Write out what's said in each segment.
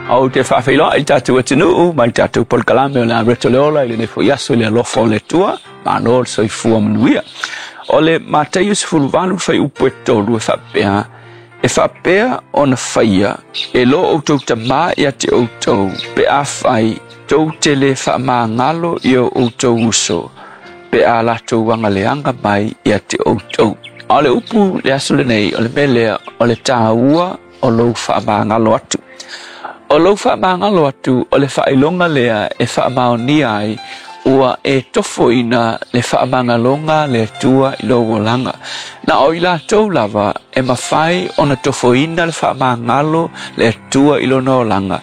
Ou te faafeiloai i le tatou atunuu ma le tatou polokalame o le a Reto le Ola i lenei foi aso i le alofa o le Atua. Malo le soifua manuia. O le Mataio 18 fuaiupu e 3 e faapea, e faapea ona faia e lo outou Tama ia te outou pe afai tou te le faamagalo i o outou uso pe a latou agaleaga mai ia te outou. A o le upu le aso lenei, o le mea lea o le taua o lou faamagalo atu. O lou faamagalo atu o le faailoga lea e faamaonia ai ua e tofoina le faamagaloga le Atua i lou olaga. Na o i latou lava e mafai ona tofoina le faamagalo le Atua i lona olaga,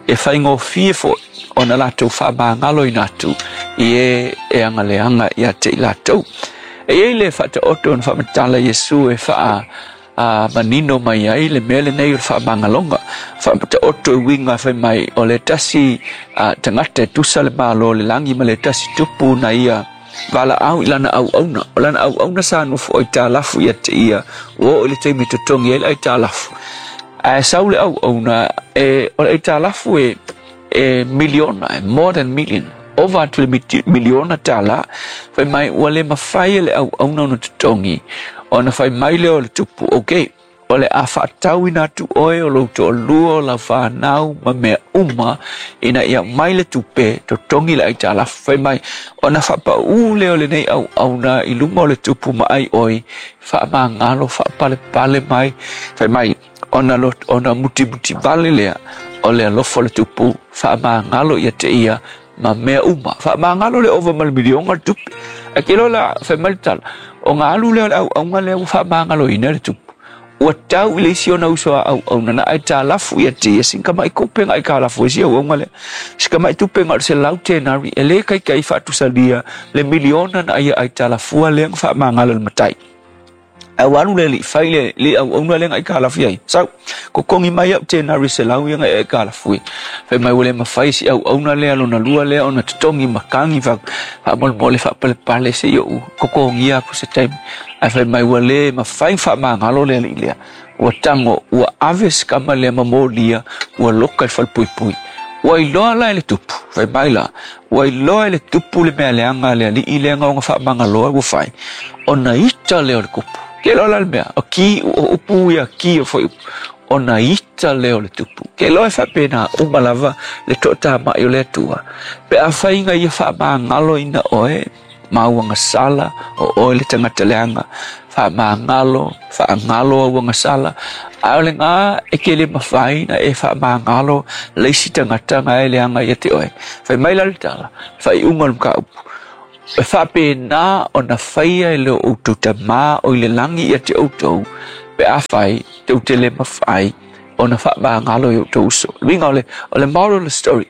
e faigofie foi ona latou faamagaloina atu i e e agaleaga ia te i latou. E i ai le faataoto na faamatala Iesu e faa a manino mai ai le mea lenei o le faamagaloga. Faataoto e uiga fai mai o le tasi tagata e tusa le malo o le lagi ma le tasi tupu na ia valaau i lana auauna. O lana auauna sa nofo aitalafu ia te ia, ua oo i le taimi e totogi ai le aitalafu. Ae sau le auauna, e, o le aitalafu e, e miliona, e more than million, ova atu le miliona tala. Fai mai ua le mafai e le auauna ona totogi, ona fai mai lea o le tupu, okay, o le a faatauina atu oe o lou toalua o lau fanau ma mea uma ina ia mai le tupe totogi le aitalafu. Fai mai ona faapaū lea o lenei auauna i luma o le tupu ma ai oe, faamagalo, faapalepale mai. Fai mai ona, ona mutimuti vale lea o le alofa o le tupu, faamagalo ia te ia ma mea uma. Faamagalo le ova ma le miliona le tupe. Ae ke loa la fai mai le tala, o ngā alu lea o le auauna lea ua faamagaloina le tupu. Ua tau i le isi ona uso a auauna na aitalafu ia te ia sin kamai tupe nga aitalafu e si auauna lea. Si kamai tupe nga o le 100 tenari e le kaikai faatusalia le miliona na ia aitalafua lea nga faamagalo le matai. Ae ua alu le alii fai le le auauna lea na aitalafu ai. Sau, totogi mai au tenari 100 ia na e aitalafu ai. Fai mai ua le mafai si auauna lea lona lua lea ona totogi matagi faamolemole faapalepale se i ou totogia atu se taimi. Ae fai mai ua le mafai faamagalo le alii lea. Ua tago, ua ave si tama lea ma molia, ua loka i le falepuipui. Ua iloa la e le tupu, fai mai la, ua iloa e le tupu le mea leaga a le alii lea na ona faamagaloa ua fai, ona ita lea o le tupu. Ke loa la le mea, o ki, o upu ia ki o foi upu, ona ita lea o le tupu. Ke loa e faapena uma lava le toatamai o le Atua, pe afai na ia faamagaloina oe, ma auagasala, o oe le tagata leaga, faamagalo, faagalo auagasala, a o le gā e ke le mafai na e faamagalo le isi tagata na e leaga ia te oe. Fai mai la le tala, faaiuga o le mataupu, e faapena ona faia e le outou Tama o i le lagi ia te outou, pe afai tou te le mafai ona faamagalo i outou uso. Le uiga o le, o le moral of the story,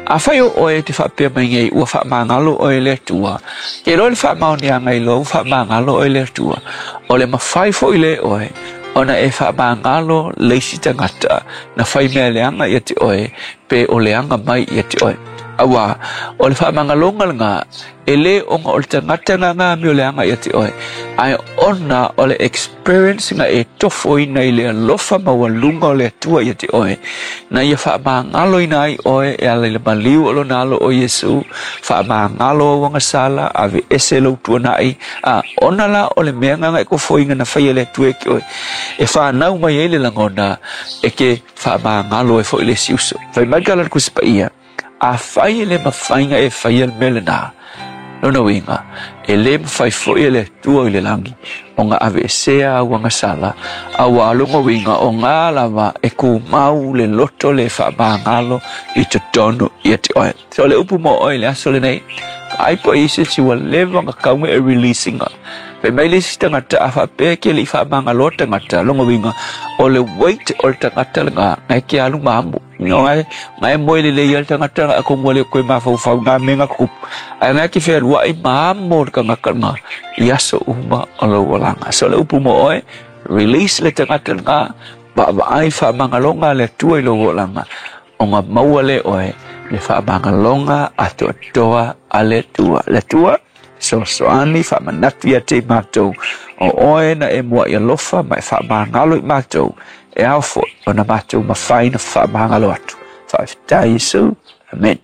afai o oe e te faapea mai nei ua faamagalo oe e le Atua, ke iloa le faamaoniaga i lou faamagalo oe e le Atua, o le mafai foi le oe ona e faamagalo le isi tagata na fai mea leaga ia te oe, pe o leaga mai ia te oe. Auā, o le faamagaloga lena, e le ona o le tagata na ngā mea o leaga ia te oe, ae ona o le experience na e tofoina i le alofa maualuga o le Atua ia te oe, na ia faamagaloina ai oe e ala i le maliu o lona alo o Iesu, faamagalo auagasala, aveese lou tuanai, a ona la o le mea na e tofoina na faia e le Atua ia te oe, e whanau mai ai le lagona e ke faamagalo ai foi le isi uso. Fai mai ka la le Tusi Paia, afai e le mafai na e faia le mea lena, lona uiga, e le mafai foi e le Atua i le lagi ona aveesea auagasala, auā lona uiga o ngā lava e tumau le loto le faamagalo i totonu ia te oe. So o le upu mo oe i le aso lenei, ai po i se isi ua leva ona tau e release ina. Fai mai le isi tagata a faapea ke le i faamagaloa tagata, lona uiga o le weight o le tagata lena, na e ke alu ma amo. Ngai ngai moe lelei ai le tagata na atonu ua le toe mafaufau i ngā mea na tutupu. Ae ngai ke fealuai ma amo le tagata lena i aso uma o lou olaga. So o le upu mo oe, release le tagata lena, vaavaai faamagaloga a le Atua i lou olaga, ona maua lea oe le faamagaloga atoatoa a le Atua. Le Atua, fesoasoani faamanatu ia te i matou, o oe na e mua'i alofa ma e faamagalo i matou, e ao foi ona matou mafai na faamagalo atu. Faafetai Iesu. Amen.